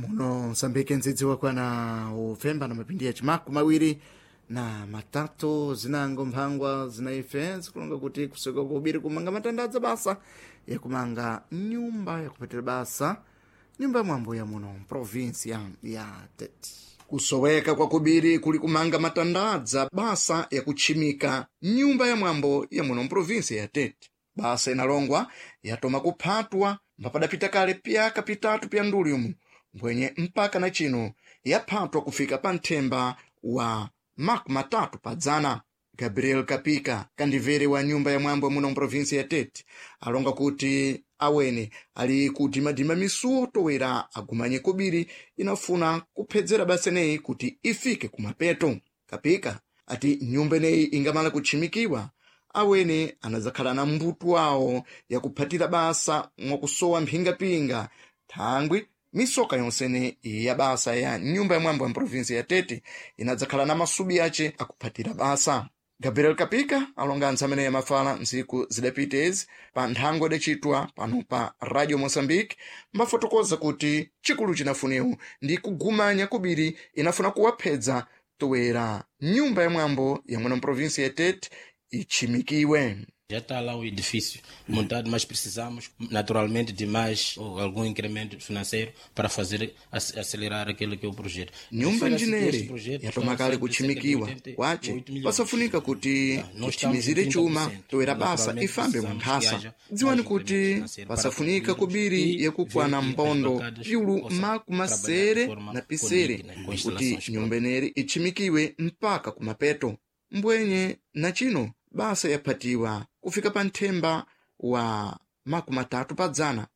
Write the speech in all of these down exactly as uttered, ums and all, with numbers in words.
Muno Msambike ndzidzi wakwana upfemba na mapindi ya chimaku mawiri na matatu zinango mphangwa zinaife zikulonga kuti kusoka kubiri kumanga matandadza basa yakumanga nyumba yakupetera basa nyumba ya mwambo ya muno provinsia ya Tete. Kusoweka kwa kubiri kuli kumanga matandadza basa yakutchimika nyumba ya mwambo ya muno mprovinsia ya Tete. Basa inalongwa yatoma kuphatwa mbapadapita kale pyaka pitatu pya nduli mbwenye mpaka na chino yaphatwa kufika pa nthemba wa makumi matatu padzana. Gabriel Kapika kandivere wa nyumba ya mwambo muno mprovinsi ya Tete alonga kuti awene ali kudimadima misuwo towera agumanye kobiri inafuna kuphedzera basa ineyi kuti ifike kumapeto. Kapika ati nyumba ineyi ingamala kutchimikiwa awene anadzakhala na mbuto wawo yakuphatira basa mwakusowa mphingapinga thangwi misoka yonsene ya basa ya nyumba ya mwambo ya mprovinsi ya Tete inadzakhala na masubi ace akuphatira basa. Gabriel Kapika alonga anthu amene yamafala ntsiku zidapita ezi pa nthango idacitwa pano pa Radio Mozambique mbafotokoza kuti chikulu chinafuniwo ndi kugumanya kubiri inafuna kuwaphedza toera nyumba ya mwambo ya muno mprovinsi ya Tete itchimikiwe. Já está lá o edifício montado, mas precisamos naturalmente de mais ou algum incremento financeiro para fazer acelerar aquilo que é o projeto. Nyumba njinere yatoma kale kutchimikiwa kwace pasafunika kuti kutchimizire chuma toera basa ifambe munthasa. Dziwani kuti pasafunika kubiri yakukwana mbondo piulu makumasere na pisere kuti nyumba ineri itchimikiwe mpaka kumapeto. Mbwenye na chino basa yaphatiwa kufika pa nthemba wa makumi atatu padzana.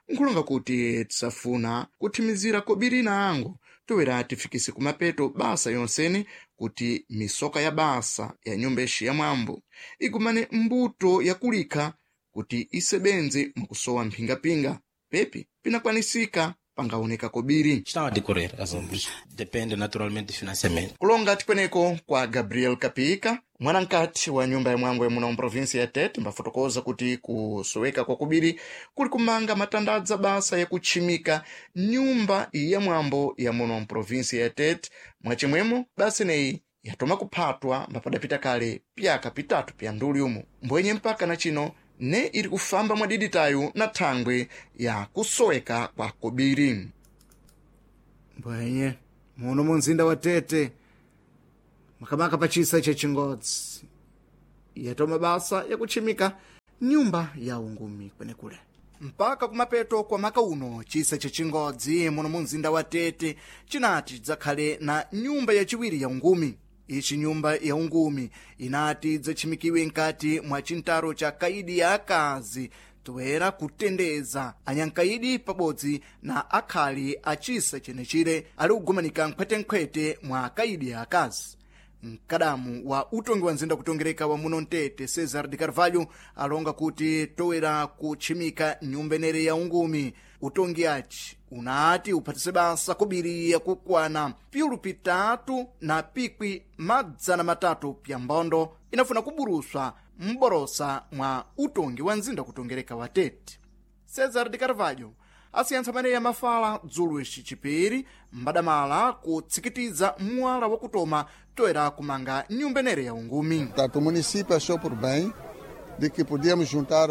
Nkhulonga kuti tisafuna kuthimizira kobiri na ango toera tifikise kumapeto basa yonsene kuti misoka ya basa ya nyumba ixi ya mwambo igumane mbuto yakulikha kuti isebenze mwakusowa mphingapinga pepi pinakwanisika pangaoneka kobiri. Estão a decorrer as obras. Depende naturalmente do financiamento. Kulonga tikweneko kwa Gabriel Kapika mwanamkati wa nyumba ya mwambo ya muno mprovinsi ya Tete mbafotokoza kuti kusoweka kwa kubiri kuli kumanga matandadza basa yakutchimika nyumba ya mwambo ya muno mprovinsi ya Tete. Mwachimwemo basa ineyi yatoma kuphatwa mbapadapita kale pyaka pitatu pya nduli umu mbwenye mpaka na chino ne iri kufamba mwadiditayo na thangwe ya kusoweka kwa kobiri. Mbwenye muno mu mzinda wa Tete makamaka pachisa chechingodzi yatoma basa yakutchimika nyumba ya ungumi kwenekule mpaka kumapeto kwa maka uno. Chisa chechingodzi muno mu mzinda wa Tete chinati chidzakhale na nyumba yachiwiri ya ungumi. Ichi nyumba ya ungumi inati idzatchimikiwe nkati mwa chintaro cha kaidi ya akazi toera kutendeza anyankaidi pabodzi na akhali a chisa chenechire ali kugumanika nkhwetenkhwete mwa kaidi ya akazi. Mkadamu wa utongi wa nzinda kutongereka wa muno Mtete Cesar de Carvalho alonga kuti toera kutchimika nyumba inere ya ungumi utongi aci unati uphatise basa kubiri yakukwana piulu pitatu na pikwi madzana matatu pya mbondo inafuna kuburuswa mborosa mwa utongi wa nzinda kutongereka wa Tete. Cesar de Carvalho asiyantsa amene yamafala dzulo ici chipiri mbadamala kutsikitiza mwala wakutoma toera kumanga nyumba inere ya ungumi. Portanto, o município achou por bem de que podíamos juntar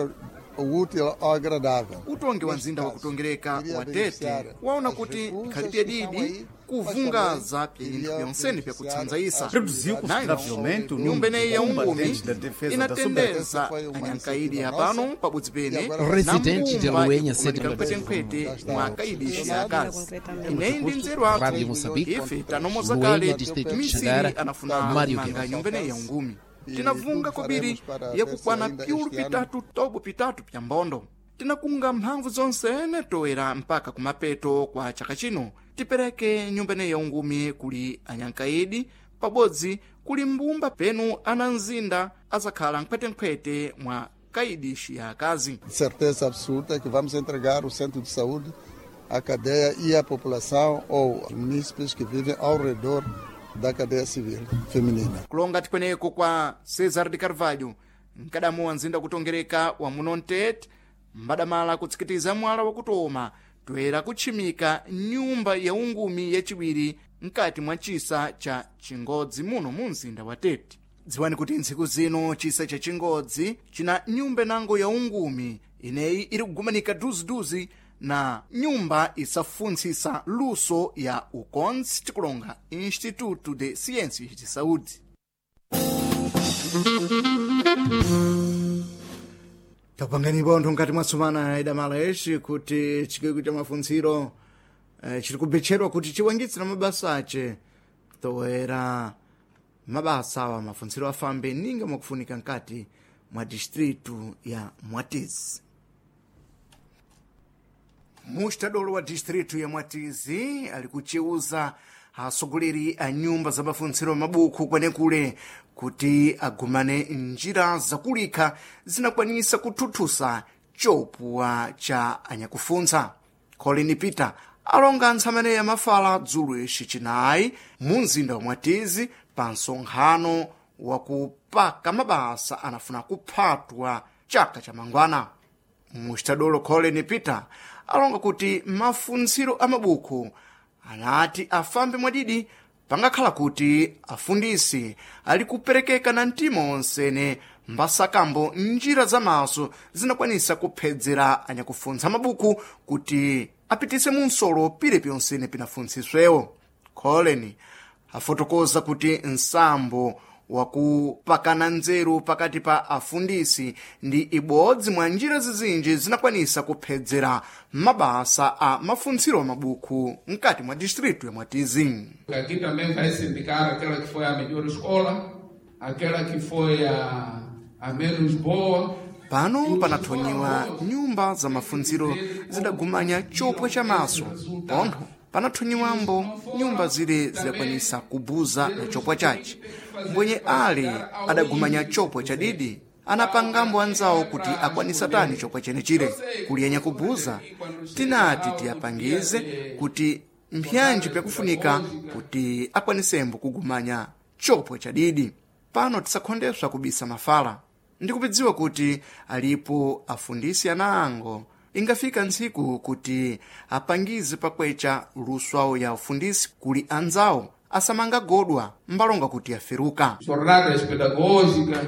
o útil ao agradável. Utongi wa nzinda wakutongereka wa Tete waona kuti ikhalipye didi kuvungaza pya byonsene pyakutsanzaisa. Reduziu consideravelmente o nyumba número ineyi de ya ungumi combatentes da defesa da inatendeza anyankaidi apano pabodzi pene Residente de na Luenha, mbumba sede ikumanika nkhwetenkhwete mwa akaidi ya akazi. Ineyi ndi nzeru athu Rádio Moçambique, ife tanomoza Luenha, kale distrito de misiri Xangara, anafuna Mário kumanga Guerra. nyumba ineyi ya ungumi. Tinavunga kobiri yakukwana piulu pitatu tobo pitatu pya mbondo. Tinakunga mphamvu zonsene toera mpaka kumapeto kwa chaka chino tipereke nyumba ineyi ya ungumi kuli anyankaidi pabodzi kuli mbumba penu ana mzinda azakhala nkhwetenkhwete mwa kaidishi ya akazi. De certeza absoluta que vamos entregar o centro de saúde à cadeia e à população ou aos munícipes que vivem ao redor da cadeia civil feminina. Kulonga tikweneko kwa Cesar de Carvalho mkadamu wa nzinda kutongereka wa muno Mtete mbadamala kutsikitiza mwala wakutoma toera kutchimika nyumba ya ungumi yaciwiri mkati mwa chisa cha Chingodzi muno mu mzinda wa Tete. Dziwani kuti ntsiku zino chisa cha Chingodzi china nyumba inango ya ungumi ineyi iri kugumanika duziduzi na nyumba isafuntsisa luso ya ukonzi tikulonga Instituto de Ciências de Saúde. Tapangani bontho mkati mwa sumana idamala exi kuti chikwekwe cha mafuntsiro eh, chiri kubetcherwa kuti chiwangitsira mabasa ace toera mabasa awa mafuntsiro afambe ninga mwakufunika nkati mwa distritu ya Mwatizi. Mustadolo wa distritu ya Mwatizi ali kucheuza atsogoleri a nyumba za mafuntsiro mabuku kwenekule kuti agumane njira zakulikha zinakwanisa kuthuthusa chopuwa cha anyakufuntsa. Colin Peter alonga ntsamene yamafala dzulo ixi chinayi mu mzinda wa Mwatizi pa msonkhano wakupaka mabasa anafuna kuphatwa chaka cha mangwana. Mustadolo Colin Peter alonga kuti mafuntsiro a mabuku anati afambe mwadidi pangakhala kuti afundisi ali kuperekeka na mtima onsene mbasakambo njira zamaso zinakwanisa kuphedzera anyakufuntsa mabuku kuti apitise munsolo pile pyonsene pinafuntsiswewo. Colin afotokoza kuti nsambo wakupakana nzeru pakati pa afundisi ndi ibodzi mwa njira zizinji zinakwanisa kuphedzera mabasa a mafuntsiro a mabuku mkati mwa distritu ya Mwatizi. Aqui também vai se indicar aquela que foi a melhor escola, aquela que foi a, a menos boa. Pano panathonyiwa nyumba za mafuntsiro zidagumanya chopwa cha maso pontho panathonyiwambo nyumba zile zidakwanisa kubuza na chopwa chace. Mbwenye ale adagumanya chopwa chadidi anapangambo anzawo kuti akwanisa tani chopwa chenechire. Kuliyanya kubuza tinati tiyapangize kuti mpyanji pyakufunika kuti akwanisembo kugumanya chopwa chadidi. Pano tisakhondeswa kubisa mafala ndikupidziwa kuti alipo afundisi anango ingafika ntsiku kuti apangize pakwecha luswawo ya ufundisi kuli anzawo asamangagodwa mbalonga kuti aferuka. Jornadas pedagógicas,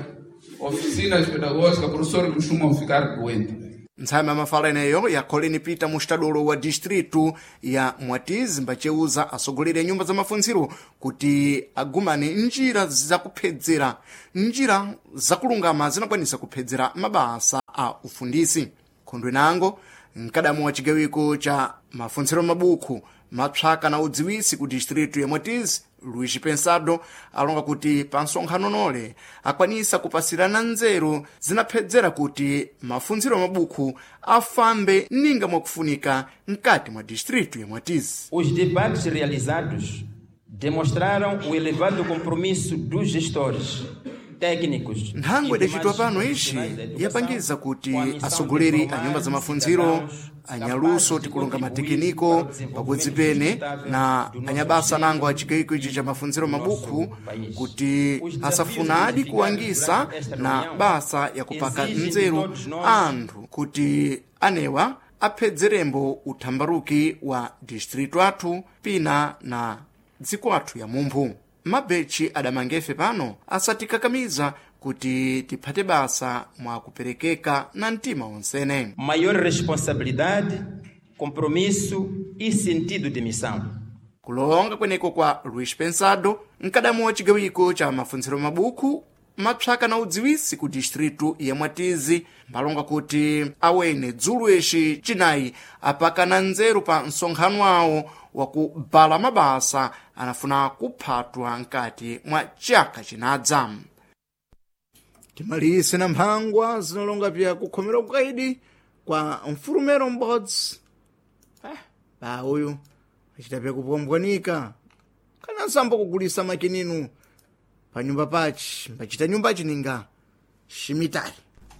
oficinas pedagógicas, professores costumam ficar doentes. Ntsame amafala eneyo ya Colin Peter mustadolo wa distritu ya Mwatizi mbacheuza atsogoleri a nyumba za mafuntsiro kuti agumane njira zakuphedzera njira zakulungama zinakwanisa kuphedzera mabasa a ufundisi. Khondwe nango mkadamu wa chigawiko cha mafuntsiro mabuku mapsaka na udziwisi ku distritu ya Mwatizi Luís Pensado alonga kuti pa nsonkhano nole akwanisa kupasirana nzeru zinaphedzera kuti mafuntsiro mabuku afambe ninga mwakufunika mkati mwa distritu ya Mwatizi. Os debates realizados demonstraram o elevado compromisso dos gestores técnicos. Nthangwe idacitwa pano ixi yapangiza kuti atsogoleri a nyumba za mafuntsiro anyaluso tikulonga matekiniko pabodzi pene na anyabasa nango a chigayiko ichi cha mafuntsiro mabuku kuti asafunadi kuwangisa na basa yakupaka nzeru anthu kuti anewa aphedzerembo uthambaruki wa distritu athu pina na dziko athu ya mumphu. Mabetchi adamangefe pano asatikakamiza kuti tiphate basa mwa kuperekeka na mtima onsene. Maior responsabilidade, compromisso e sentido de missão. Kulonga kweneko kwa Luís Pensado, mkadamu wa chigawiko cha mafuntsiro mabuku mapsaka na udziwisi ku distritu ya Mwatizi mbalonga kuti awene dzulo ixi chinayi apakana nzeru pa msonkhano awo wakubala mabasa anafuna kuphatwa mkati mwa chaka chinadza. Timalise na mphangwa zinalonga pya kukhomera ukaidi kwa mfulumero m'bodzi. Ah, pa uyu achita pya kupwambwanika kana nsambo kugulisa makininu pa nyumba pachi mbachita nyumba chininga shimitali.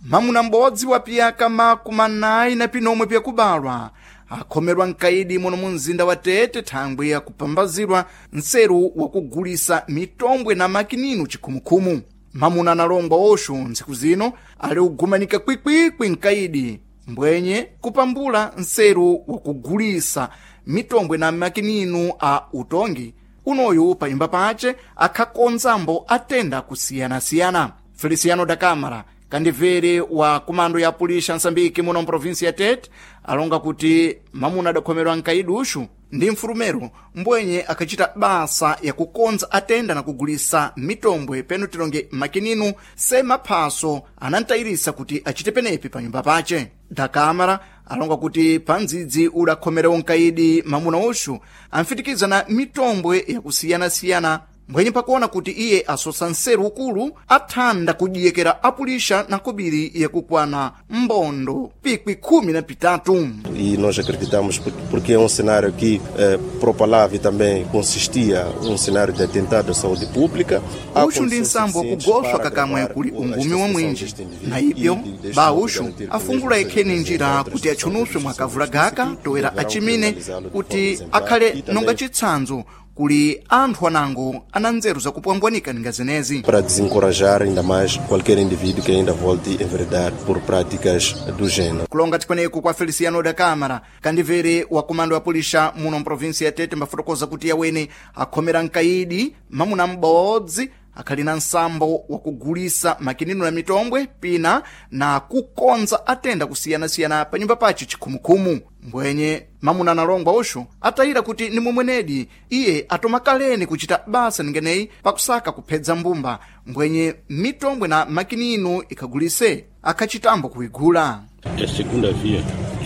Mamuna m'bodzi wa piyaka makumi anayi na pinomwe pyakubalwa akhomerwa mkaidi muno mu mzinda wa Tete thangwi yakupambazirwa nseru wakugulisa mitombwe na makininu chikhumukhumu. Mamuna analongwa oxo ntsiku zino ali kugumanika kwikwikwi mkaidi Mbwenye kupambula nseru wakugulisa mitombwe na makininu a utongi unoyu panyumba pace akhakonzambo atenda kusiyanasiyana. Feliciano da Câmara, kandivere wa kumando ya pulisha Nsambiki muno mprovinsi ya Tete, alonga kuti mamuna adakhomerwa nkaidi uxu ndi mfulumero mbwenye akhacita basa yakukonza atenda na kugulisa mitombwe penu tilonge makininu se maphaso anantayirisa kuti acite penepi pa nyumba pace. Da Câmara alonga kuti pa ndzidzi udakhomerewo nkaidi mamuna uxu amfitikiza na mitombwe yakusiyanasiyana mbwenye pakuona kuti iye asosa nseru ukulu athanda kudiyekera apulisha na kobiri yakukwana mbondo pikwi khumi na pitatu. E nós acreditamos porque é um cenário que eh, propalava e também consistia um cenário de atentado à saúde pública. Uxu ndi nsambo wakugoswa kakamwe kuli ungumi wa mwinji na ibyo ba uxu afungula ikheni njira kuti atchunuswe mwakavula gaka toera achimine kuti akhale nonga chitsanzo kuli anthu anango ana nzeru zakupwambwanika ninga zenezi para desencorajar ainda mais qualquer indivíduo que ainda volte enveredar por práticas do gênero. Kulonga tikweneku kwa Feliciano da Câmara, kandivere wa kumando ya pulisha muno mprovinsi ya Tete mbafotokoza kuti yawene akhomera nkaidi mamuna m'bodzi akhali na nsambo wakugulisa makinino na mitombwe pina na kukonza atenda kusiyanasiyana pa nyumba pace chikhumukhumu. Mbwenye mamuna analongwa uxu atayira kuti ni momwenedi iye atomakaleni kuchita basa ningeneyi pakusaka kuphedza mbumba mbwenye mitombwe na makinino ikhagulise akhachitambo kuigula. É segunda via.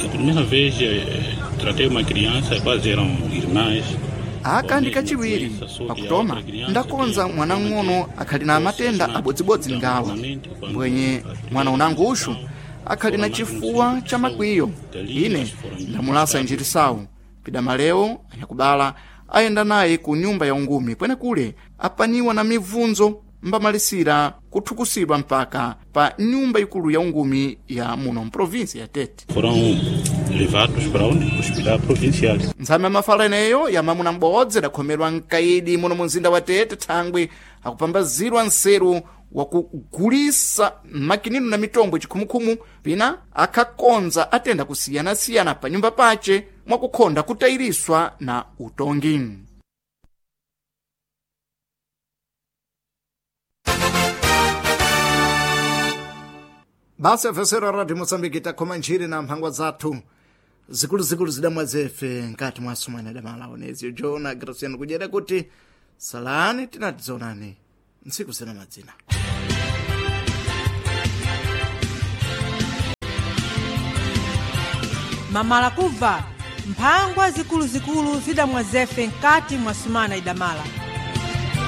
A primeira vez eh, tratei uma criança, quase eram irmãs. Aka ndi kachiwiri pakutoma ndakonza mwana ng'ono akhali na matenda abodzibodzi ngawa mbwenye mwana unango uxu akhali na chifuwa cha makwiyo. Ine ndamulasa njirisawu pidamalewo anyakubala ayenda naye ku nyumba ya ungumi kwenekule apaniwa na mibvunzo mbamalisira kuthukusidwa mpaka pa nyumba ikulu ya ungumi ya muno mprovinsi ya Tete. Foram levados para onde? Hospital Provincial. Ntsame mafala eneyo ya mamuna m'bodzi adakhomerwa mkaidi muno mu mzinda wa Tete thangwi akupambazirwa nseru wakugulisa makinino na mitombo chikhumukhumu pina akhakonza atenda kusiyanasiyana pa nyumba pace mwakukhonda kutayiriswa na utongi. Basa yafesera Radio Moçambique takhoma ntchire na mphangwa zathu zikuluzikulu zidamwa zefe nkati mwa sumana damala onezio Jona Graciano kudyera kuti salani tinatizonani ntsiku zina madzina. Mamala kubva mphangwa zikuluzikulu zidamwa zefe nkati mwa sumana idamala.